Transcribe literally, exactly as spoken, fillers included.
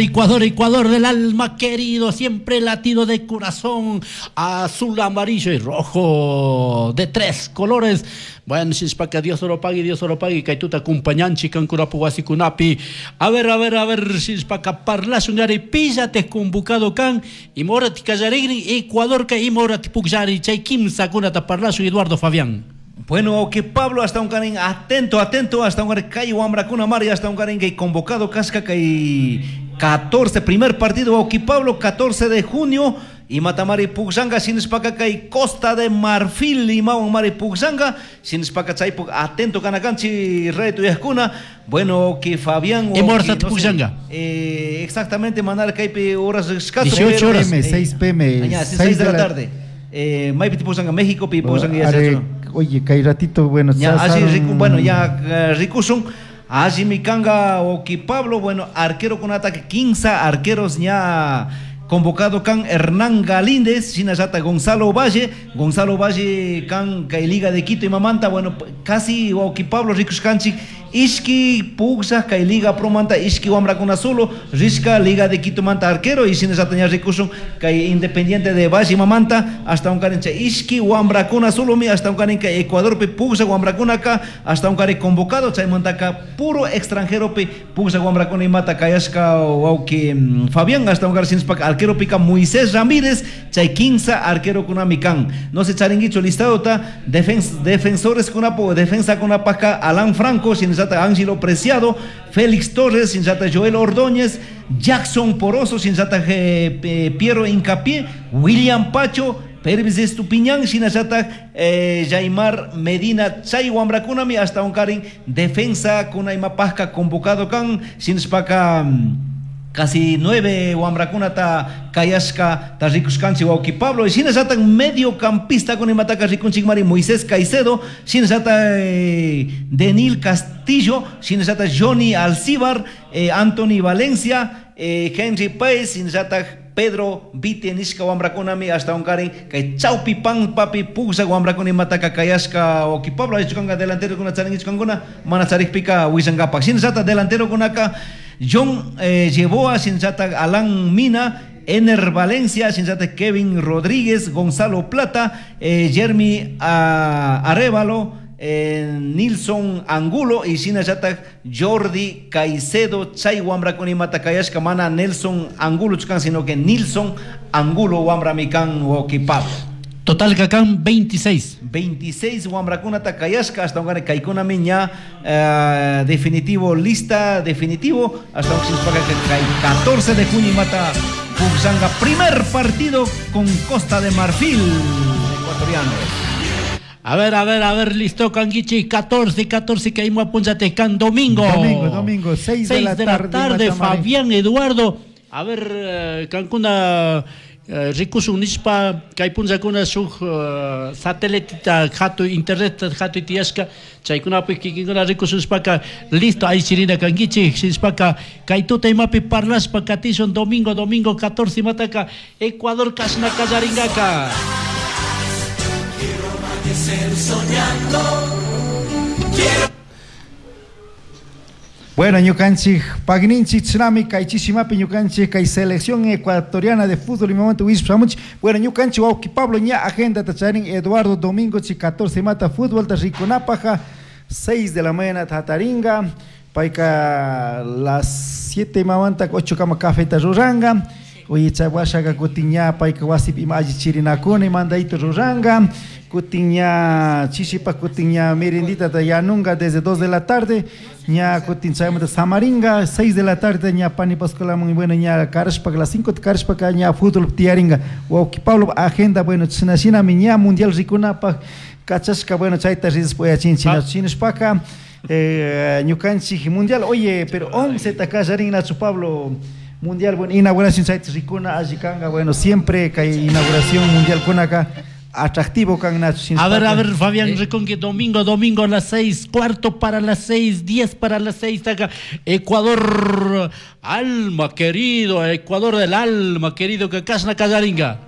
Ecuador, Ecuador del alma querido, siempre latido de corazón, azul, amarillo y rojo, de tres colores. Bueno, si es para que Dios lo pague, Dios lo pague, que tú te acompañanchi, kankurapu wasikunapi. A ver, a ver, a ver, si es para que parlas un píllate convocado kan, y morati kallarigrin, Ecuador ka y morati pukllari, chay kimsa kunata parlasun Eduardo Fabián. Bueno, que Pablo hasta un carín atento, atento, hasta un carín kay wamrakuna mari, hasta un carín que convocado casca kay catorce, primer partido, Auqui Pablo, catorce de junio, y Matamari Pugsanga, Sinispaka kay Costa de Marfil, y Mari Pugsanga, Sinispaka chaypuk, atento kanakanchi, reto y escuna, bueno, que Fabián. ¿Y Morsa Pugsanga? Eh, exactamente, manar kaypi horas dieciocho horas. seis p m, seis de la tarde. Eh, Maypi Pugsanga, México, pi Pugsanga, oye, kay ratito, bueno, ya, así, rico, bueno, ya, ricusun. Así mi kanga Oki Pablo, bueno, arquero con ataque, quince arqueros ya convocado kan Hernán Galíndez, Sinayata Gonzalo Valle, Gonzalo Valle kan kay Liga de Quito y Mamanta, bueno, casi Oki Pablo rikushkanchik, ishki pugsa kay Liga Pro manta, ishki wamrakuna solo, rishka Liga de Quito manta arquero, y Sinayata ña rikushun kay Independiente de Valle Mamanta, hasta un karincha ishki wamrakuna solo mi, hasta un karin kay Ecuador pe pugsa wamrakuna ka, hasta un karin convocado, chay mantaka puro extranjero pe pugsa wamrakuna y mata kayashka wauki Fabián, hasta un karin sinspak arquero pica Moisés Ramírez, chay quince arquero kunamikan. No se charinguicho listado ta defens, defensores kunapo, defensa kunapaka Alan Franco, sinzata Ángelo Preciado, Félix Torres, sinzata Joel Ordóñez, Jackson Poroso, sinzata eh, Piero Hincapié, William Pacho, Pervis Estupiñán, sinazata eh, Jaimar Medina, chay wamrakunami, hasta un karin defensa kunaimapasca convocado kan, sinspaka casi nueve wamrakunata kayashka ta rikushkanchik wawqi Pablo, y shinallata mediocampista con imataka rikunchik mari Moisés Caicedo, shinallata eh, Denil Castillo, shinallata Johnny Alcibar, eh, Anthony Valencia, eh, Henry Páez, shinallata Pedro Vite nishka wamrakunami, hasta un karin kay chawpi pan papi pugsa wamrakuna imataka kayashka wawqi Pablo, aychukanga delantero kuna charingichkankuna mana charikpika wishankapak, shinallata delantero kunaka John eh, Yeboa, sinzata Alan Mina, Ener Valencia, sinzata Kevin Rodríguez, Gonzalo Plata, eh, Jeremy uh, Arevalo, eh, Nilson Angulo y sinazata Jordi Caicedo, chay wamrakuna imata kayashka mana Nelson Angulo chkan, sino que Nilson Angulo wamramikan wawqi Pablo. Total kakan veintiséis. veintiséis wamrakunata kayashka, hasta un kaikunami ña uh, definitivo, lista definitivo, hasta un catorce de junio mata Pugsanga, primer partido con Costa de Marfil, ecuatoriano. A ver, a ver, a ver, listo, Kanguichi, catorce, catorce, que hay can domingo. Domingo, domingo, seis de la tarde, de la tarde Fabián Eduardo. A ver, Cancuna. Uh, rikusun nishpa kay punllakuna shuk uh, sateliteta hatu internet hatu tiyashka chaykunapi kikinkuna rikusunshpaka listo aychirina kankichik shinshpaka kay tuta imapi parlashpa katishun domingo domingo catorce mataka Ecuador kashna kallaringaka. Quiero amanecer soñando, quiero. Bueno, ñukanchik pagninchik tsunami kaychisimapi ñukanchik kay selección ecuatoriana de fútbol y momento wispamuch. Bueno, ñukanchik wawqi Pablo ña agenda tacharin Eduardo domingo chi catorce mata fútbol ta rikunapaja seis de la mañana tataringa payka las siete mamanta ocho kama café ta ruranga. Oye, chay kutin payka wasipi ima alli chirinakuna mandayto ruranga. Kutin ña chishipa kutin ña merendita ta yanunga desde dos de la tarde, ña kutin chaymanta samaringa, seis de la tarde ña pani pascualamun, bueno ña karashpa las cinco karashpa ña fútbol tiaringa. Wawqi Pablo agenda bueno chinashinami ña mundial rikunapaq kachashka bueno chayta rispoyachinchik chinashpaka eh, ñukanchik mundial, oye, pero once takallarin Nacho Pablo mundial, bueno, inauguración chayta rikuna allikanga, bueno, siempre kay inauguración mundial kunaka atractivo kan Nacho. A ver, a ver, Fabián, eh. Domingo, domingo a las seis, cuarto para las seis, diez para las seis, acá, Ecuador, alma querido, Ecuador del alma querido, que casna callaringa.